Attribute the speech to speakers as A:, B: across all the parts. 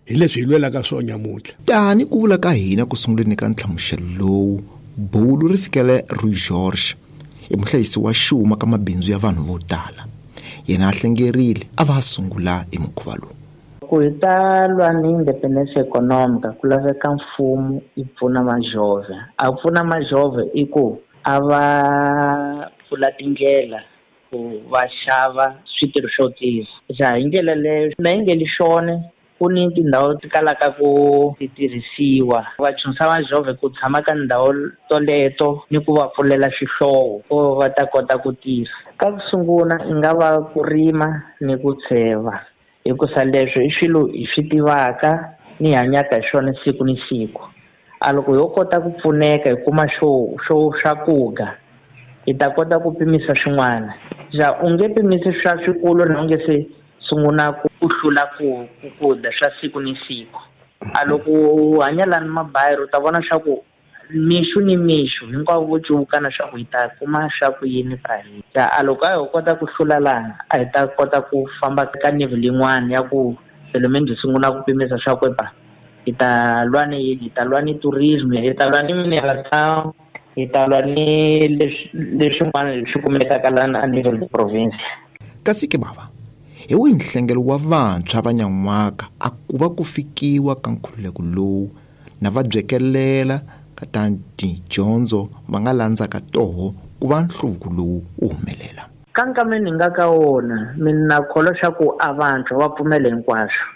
A: Hi leswi hi lwelaka swona nyamuntlha.
B: Tani ku vula ka hina ku sunguleni ka nhlamuselo lowu, bulu ri fikele Rui Jorge, i muhlayisi wa xuma ka mabindzu ya vanhu vo tala. Yena a hlengerile a va a sungula hi mukhuva lowu.
C: Ku hi ta lwa ni independência econômica ku laveka mfumo yi pfuna majove. A pfuna majove i ku a va pfula tindlela ku va xava switirho swo tirha. Ja hi ndlela leyo na yi nge li xone ku ni tindhawu ti kalaka ku ti tirhisiwa. Va chunsa majove ku tshama ka ndhawu toleto ni ku va pfulela xihlovo ku va ta kota ku tirha. Ka ku sungula i nga va ku rima ni ku tsheva, hikusa leswo i swilo hi swi tivaka ni hi hanyaka hi swona siku ni siku. A loko ho kota ku pfuneka hi kuma xo xo swakudya hi ta kota ku pimisa swin'wana. Ja u nge pimisi swa swikulu na u nge se sungula ku hlula ku ku dya swa siku ni siku. A loko u hanya lani mabayiri u ta vona swa ku mixo ni mixo hinkwavo vo cuvukana swa ku hi ta kuma swa ku yini ka hina. Ja a loko a ho kota ku hlula lani a hi ta kota ku famba ka level yin'wana ya ku pelo menos hi sungula ku pimisa swa ku epa hi ta lwa ni yini, hi ta lwa ni tourism, hi ta lwa ni mineração, hi ta lwa ni leswi leswin'wana leswi kumekaka lana a nível de província.
B: Kasi ke bava, hi wihi nhlengelo wa vantshwa va nyan'waka a ku va ku fikiwa ka nkhululeko lowu na va byekelela ka ta tidyondzo va nga landzaka toho ku va nhluvuko lowu wu humelela?
C: Ka nkama ni nga ka wona mina na kholwa xa ku a vantshwa va pfumela hinkwaswo.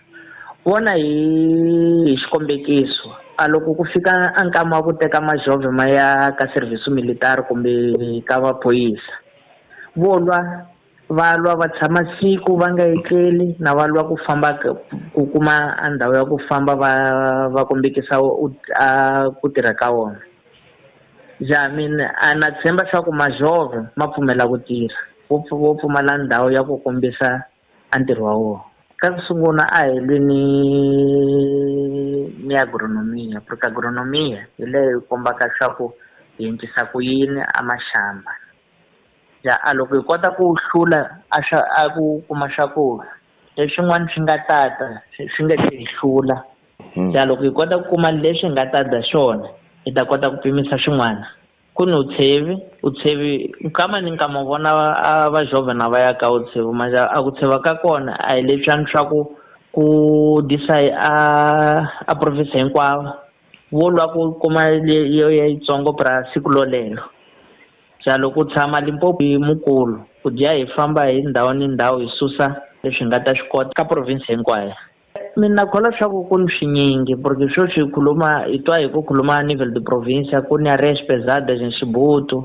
C: Vona hi hi xikombekiso, a loko ku fika a nkama wa ku teka majove ma ya ka serviço militar kumbe ka maphorisa, vo lwa va lwa va tshama siku va nga etleli na va lwa ku famba ku kuma a ndhawu ya ku famba va va kombekisa a ku tirha ka vona. Ja mina a na tshemba swa ku majove ma pfumela ku tirha, vo vo pfumala ndhawu ya ku kombisa a ntirho wa wona. Ka ku sungula a hi lwi ni ni agronomia, porque agronomia hi leyi kombaka swa ku hi endlisa ku yini a maxamba. Ja a loko hi kota ku hlula a swa a ku kuma swakudya leswin'wana swi nga tata swi nge se hi hlula. Ja loko hi kota ku kuma leswi hi nga ta dya swona hi ta kota ku pimisa swin'wana. Ku ni utshevi, utshevi nkama ni nkama u vona a va jovha na va ya ka utshevi manje a ku tsheva ka kona a hi leswiyani swa ku ku disa a a province hinkwayo vo lwa ku kuma leyo yitsongo pra siku lolelo. Ja loko u tshama Limpopo hi mukulu ku dya hi famba hi ndhawu ni ndhawu hi susa leswi hi nga ta swi kota ka province hinkwayo. Mina kholwa swa ku ku ni swinyingi porque sweswi hi khuluma hi twa hi ku khuluma nível de província ku ni areias pesadas em Chibuto,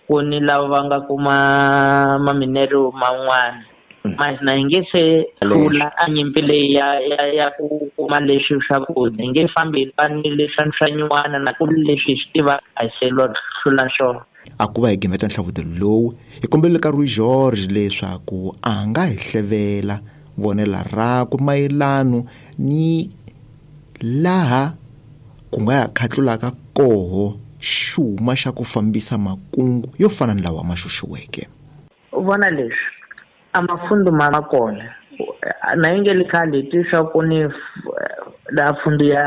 C: ku ni lava va nga kuma ma-mineral man'wana. Mas na hi nge se hlula a nyimpi leyi ya ya ya ku kuma leswi swakudya hi nge fambi hi lwa ni leswiya swa nyuwana na ku leswi hi swi tivaka a hi se lwa hlula swona.
B: A ku va hi gimeta nhlavutelo lowu, hi kombelele ka Rui Jorge leswaku a nga hi hlevela vonela rakwe mayelano ni laha ku nga ya khatlulaka koho xuma xa ku fambisa makungu yo fana ni lawa ma xuxiweke.
C: U vona leswi a mafundu ma ma kona na yi nge li khale hi twi swa ku ni la fundu ya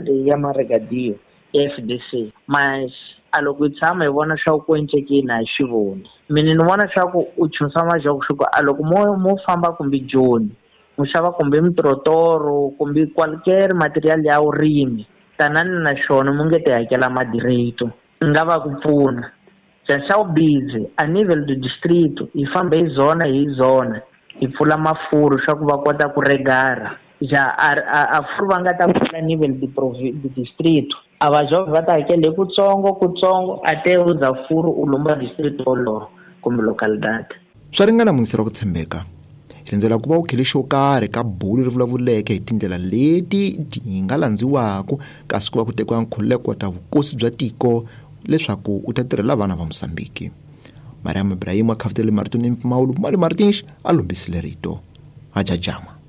C: leyi ya Maragadiyo ya F_D_C mas a loko hi tshama hi vona swa ku encekeni a hi swi voni. Mina ni vona swa ku u chunsa majoko swa ku a loko mo mo famba kumbe Joni mu xava kumbe mitirotoro kumbe qualquer material ya vurimi tanani na xona mu nge ti hakela madireto i nga va ku pfuna. Ja xa vubizi a nível do distrito hi famba hi zona hi zona hi pfula mafuru swa ku va kota ku regara. Ja a a a furu va nga ta pfula nível de de distrito a va jovha va ta hakela hi kutsongo kutsongo a te u za furu u lomba distrito wolowo kumbe localidade.
B: Swa ringana muyingiseri wa ku tshembeka. Hi rindzela ku va u khele xo karhi ka bulu ri vulavuleke hi tindlela leti ti nga landziwaka kasi ku va ku tekiwa nkhululeko wa ta vukosi bya tiko leswaku u ta tirhela vana va Mozambiki. Mariam Ibrahim a khavutele marito ni mpfumawulo Mali Martins a lombisile rito. Hajajama.